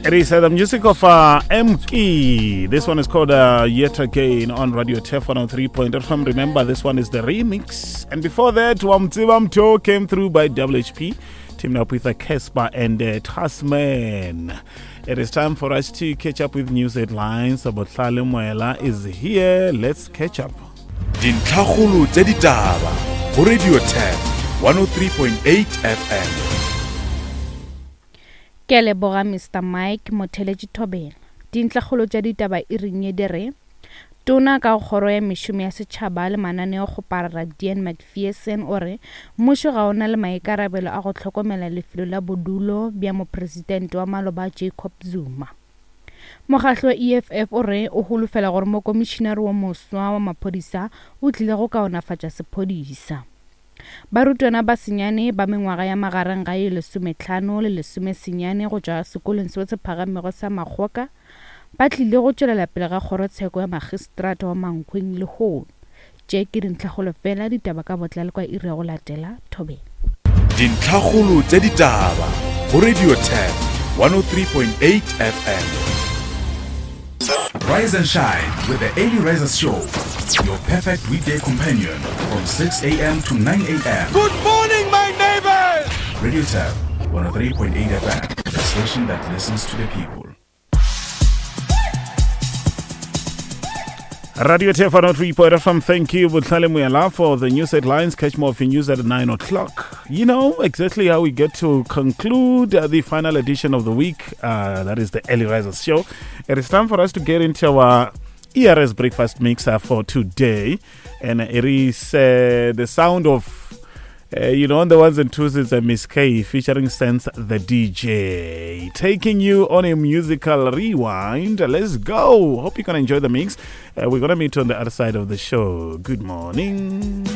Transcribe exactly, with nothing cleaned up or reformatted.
It is uh, the music of uh, M K. This one is called uh, Yet Again on Radio Turf one oh three point F M. Remember, this one is the remix. And before that, Wamtsiba Mto came through by W H P, teamed up with uh, Cassper and uh, Tasman. It is time for us to catch up with news headlines. Botlale Moela is here. Let's catch up. Dintlhakgolo tša ditaba go Radio Turf one oh three point eight F M. Ke a leboga, Mister Mike Motheletši. Thobela. Dintlhakgolo tša ditaba e reng ye di re tona ka kgoro ya mešomo ya setšhaba le mananeo kgoparara Dean Macpherson o re mmušo ga o na le maikarabelo a go hlokomela lefelo la bodulo bja mopresidente wa maloba Jacob Zuma. Mokgahlo wa E F F o re o holofela gore mokomišinare wo moswa wa maphodisa o tlile go kaonafatša sephodisa. Barutwana ba senyane ba mengwaga ya magareng ga ye lesometlhano le lesomesenyane go tšwa sekolong seo se phagamego sa Makgoka ba tlile go tšwelela pele ga kgorotsheko ya magistrata wa Mankweng lehono. Tše ke dintlhakgolo fela. Ditaba ka botlalo kwa iri ya go latela. Thobela. Dintlhakgolo tša ditaba go Radio Turf one oh three point eight F M. Rise and shine with the Early Risers Show, your perfect weekday companion from six a m to nine a m. Good morning, my neighbors! Radio Turf one oh three point eight F M, the station that listens to the people. Radio Turf one oh three point F M. Thank you, Botlale Muyala, for the news headlines. Catch more of your news at nine o'clock. You know exactly how we get to conclude uh, the final edition of the week. Uh, that is the Early Risers Show. It is time for us to get into our E R S breakfast mixer for today. And it is uh, the sound of uh, you know, on the ones and twos, it's a Miss K featuring Sense the D J, taking you on a musical rewind. Let's go. Hope you're going to enjoy the mix. Uh, we're going to meet on the other side of the show. Good morning.